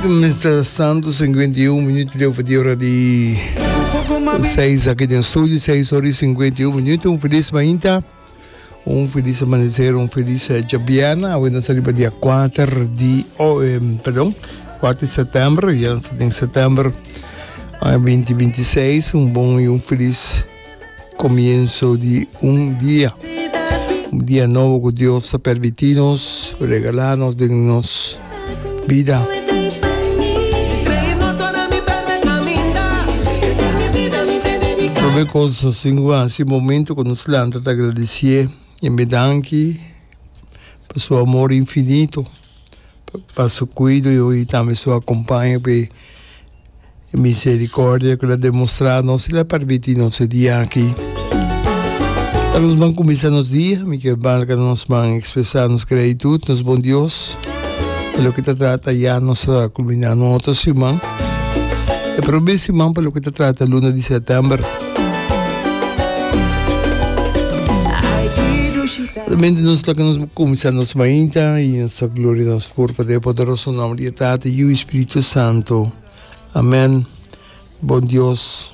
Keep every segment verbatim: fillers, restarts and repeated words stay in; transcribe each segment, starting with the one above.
Mientras sinkuenta i un minüt di over di ora di seis aki den studio, seis ora i sinkuenta i un minüt. Un felis mainta, un felis amaneser, un felis djabièrnè. Awe nos ta riba dia kuater di, oh, eh, perdon, kuater di sètèmber, ya nos ta den sètèmber aña binti binti seis. Un bon i un felis comienzo di un dia. Un dia nobo cu Dios ta permiti nos, regala nos den nos bida. Prome cos nos tin cu haci momento cu nos lanta ta agradecié y me danki pa su amor infinito, pa su cuido y tambe su acompaño p'e E misericordia cu el a demostra nos, el a permiti nos e dia aki. Ta nos ban cuminsa nos dia, mi kier marca nos ban expresa nos gratitud, nos bon Dios. Pa loke ta trata ya nos ta culmina un otro siman. E prome siman pa loke ta trata luna di september. Realmente nos loke nos cuminsa nos mainta y nos ta gloria nos por pa den e poderoso nomber di e Tata, Yiu y Spiritu Santo. Amen. Bon Dios,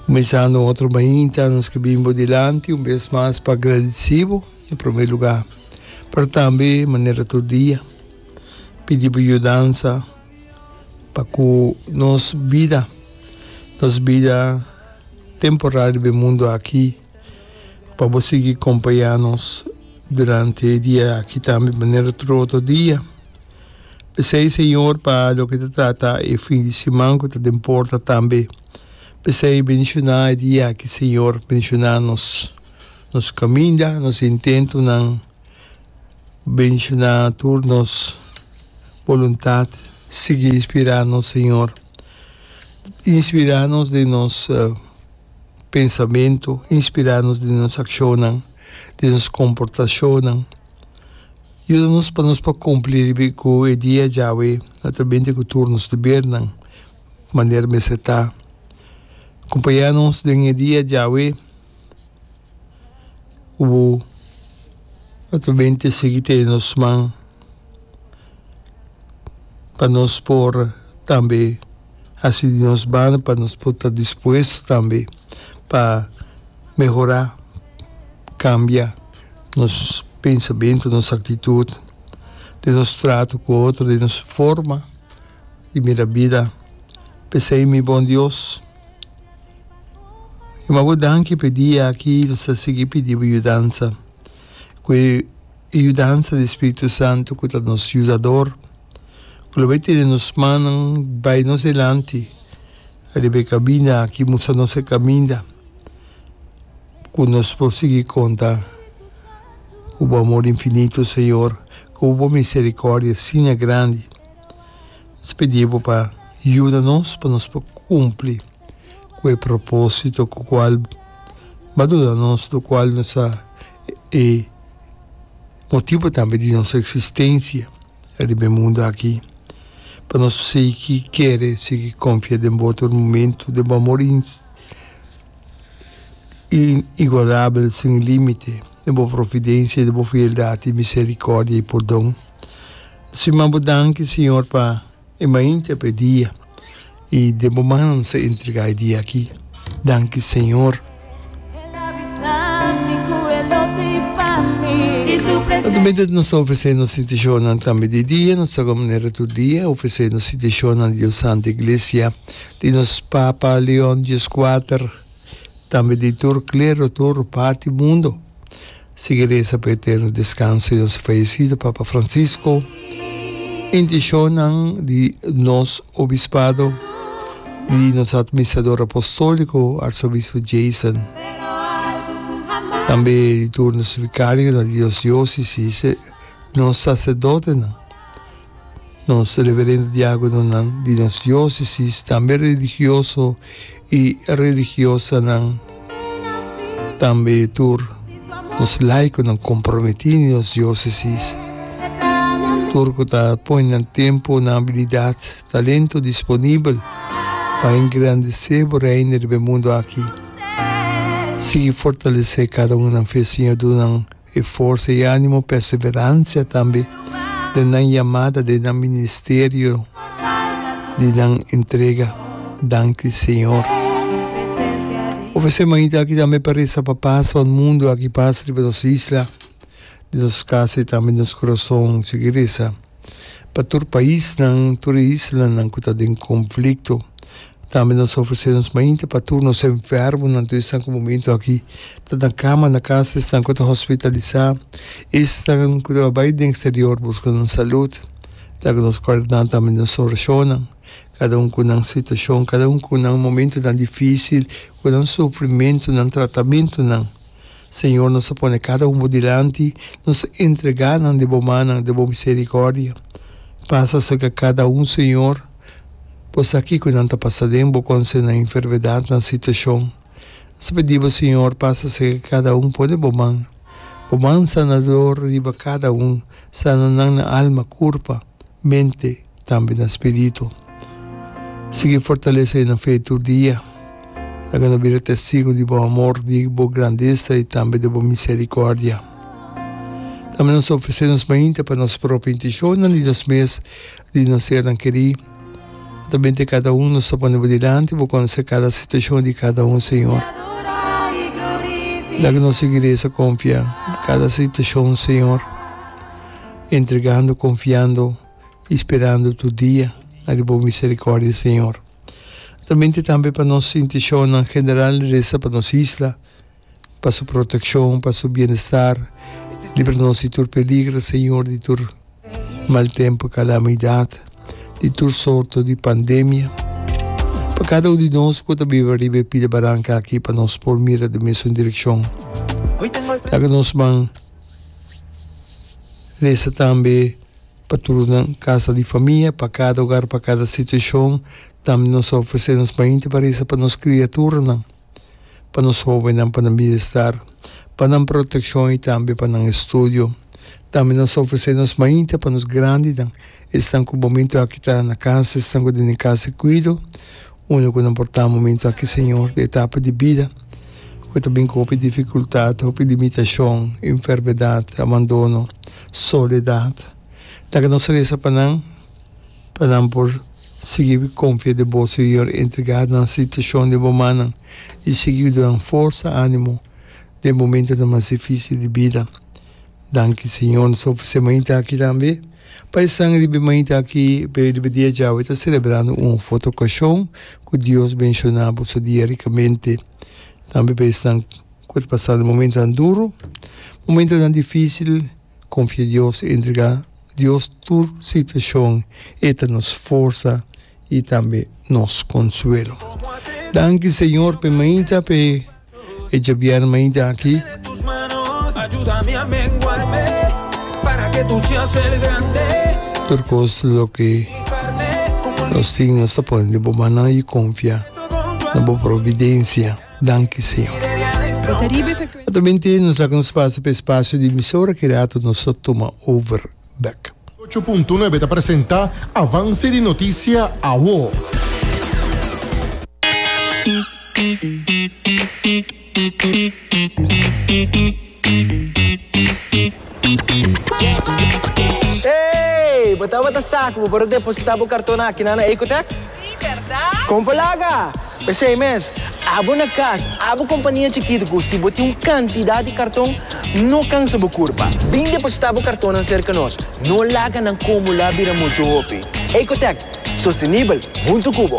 kuminsando un otro mainta, nos ke bin bo dilanti un bes mas pa agradeci bo na prome lugar, pero tambe manera tur dia pidi bo yudansa pa ku nos bida, nos bida temporal riba e mundo aki, pa bo sigui kompaña nos durante e dia aki tambe manera tur otro dia. P'esei, Señor, pa loke ta trata e fin di siman ku ta den porta tambe. P'esei, bendishoná e dia aki, Señor, bendishoná nos, nos kaminda, nos intentonan, bendishoná tur nos boluntat. Sigui inspirá nos, Señor. Inspirá nos den nos pensamentu, inspirá nos den nos akshonnan, den nos komportashonnan. Yuda nos pa nos por kumpli riba ku e dia djawe naturalmente ku tur nos debernan manera mester ta. Kompañá nos den e dia djawe ku bo naturalmente sigui tene nos man pa nos por tambe hasi di nos banda pa nos por ta dispuesto tambe pa mehorá, kambia nos pensamentu, nos aktitut, den nos trato ku otro, den nos forma di mira bida. P'esei, mi bon Dios, mi bo danki p'e dia aki, nos ta sigui pidi bo yudansa, ku e yudansa di Spiritu Santu ku ta nos yudador, ku lo bai tene nos mannan bai nos dilanti riba e kaminda aki, mustra nos e kaminda. Ku nos por sigui konta ku bo amor infinito, Señor, ku bo misericordia asina grandi. Nos pidi bo pa yuda nos pa nos por kumpli ku e proposito ku kual bo a duna nos, lokual nos ta e motibu tambe di nos eksistensia riba e mundu aki. Pa nos sigui kere, sigui konfia den bo tur momentu, den bo amor inigualabel, sin límite, den bo providencia, den bo fieldad y misericordia y pordon. Sima bo danki, Señor, pa e mainta, pa e dia, y den bo man nos ta entrega e dia aki. Danki, Señor. Naturalmente nos ta ofrece nos intencionnan tambe di dia, nos ta manera tur dia ofrece nos intencionnan di Dios Santa Iglesia, di nos Papa Leon dieskuater, tambe di tur klero tur parti mundo. Sigui resa pa eterno deskanso di nos fayesido Papa Francisco. Intishonnan di nos Obispado, di nos Administrador Apostoliko Arsobispo Jason, tambe di tur nos vikarionan di nos diosesis, nos saserdotenan. Nos reverendo diagononan di nos diosesis, tambe religioso y religiosanan, tambe tur nos laikonan comprometi di nos diosesis, tur cu ta pone nan tempo, nan habilidad, talento disponibel pa engrandece bo Reino riba e mundo aki. Sigui fortalece cada un nan fe, Señor, duna nan. E forsa i animo, perseveransia tambe Den nan yamada, den nan ministerio, den nan entrega. Danki, Señor. Ofresé mainta aki tambe pa resa pa pas pa mundu aki, pas riba nos isla, den nos kas i tambe nos kurason. Sigui resa pa tur paisnan, tur islanan ku ta den konflikto. Tambe nos ta ofresé nos mainta pa tur nos enfermonan, tur esnan ku momento aki ta na kama na kas, esnan ku ta hospitalisá, esnan ku ta bai den eksterior buska nan salud. Laga nos kòrda nan tambe den nos orashonnan, kada un ku nan situashon, kada un ku nan momentonan difísil, ku nan sufrimentu, nan tratamentunan. Señor, nos ta pone kada un bo dilanti, nos ta entregá nan den bo mannan, den bo miserikòrdia. Pasa serka kada un, Señor. Bo sa kiko nan ta pasa den, bo konosé nan enfermedat, nan situashon. Nos ta pidi bo, Señor, pasa serka kada un, pone bo man, bo man sanador riba kada un, sana nan na alma, kurpa, mente, tambe na spiritu. Sigui fortalesé nan fe tur dia. Laga nan bira testigo di bo amor, di bo grandesa i tambe di bo miserikòrdia. Tambe nos ta ofresé nos mainta pa nos propio intishonnan di nos mes, di nos sernan kerí. Atamente kada un nos ta pone bo dilanti, bo konosé kada situashon di kada un, Señor. Laga nos sigui resa konfia kada situashon, Señor, entregando, konfiando i sperando tur dia riba bo miserikòrdia, Señor. Atamente tambe pa nos intishonnan general, resa pa nos isla, pa su protekshon, pa su bienestar. Libra nos di tur peligro, Señor, di tur mal tempu, kalamidat, di tur sorto di pandemia. Pa kada un di nos ku ta biba riba e pida baranka aki, pa nos por mira den mesun direkshon. Laga nos ban resa tambe pa tur nan kasa di famia, pa kada hogar, pa kada situashon. Tambe nos a ofresé nos mainta pa resa pa nos kriaturanan, pa nos hóbennan, pa nan bienestar, pa nan protekshon i tambe pa nan estudio. Tambe nos a ofresé nos mainta pa nos grandinan, esnan ku momentu aki ta na kas, esnan ku den e kas di kuido, unda ku nan por ta momentu aki, Señor, di etapa di bida ku ta bin ku hopi difikultat, hopi limitashon, enfermedat, abandono, soledat. Laga nos resa pa nan, pa nan por sigui konfia den bo, Señor, entregá nan situashon den bo mannan i sigui duna nan forsa, ánimo den momentonan mas difísil di bida. Danki, Señor. Nos ta ofresé mainta aki tambe pa esnan riba e mainta aki, riba e dia djawe ta selebrando un of otro okashon. Ku Dios benshoná boso dia rikamente. Tambe pa esnan ku ta pasando momentonan duru, momentonan difísil, konfia Dios, entregá Dios tur situashon. E ta nos forsa i tambe nos konsuelo. Danki, Señor, pa e mainta, pa e djabièrnè mainta aki. Tur kos loke nos tin nos ta pone den bo mannan i konfia na bo providensia. Danki, Señor. Atualmente nos laga nos pasa pa e spasio di emisora ki rato nos ta tuma over bek. Ocho punto nuebe ta presenta Avance di Noticia Awo. Hey! Bo tabata sa ku bo por a depositá bo karton aki na na Ecotech? Sí, bèrdat? Kon por laga! P'esei mes, abo na kas, abo kompania chikitu ku si bo tin un kantidat di karton, no kansa bo kurpa. Bin depositá bo kartonnan serka nos. No laga nan kumulá bira muchu hopi. Ecotech, sostenibel huntu ku bo!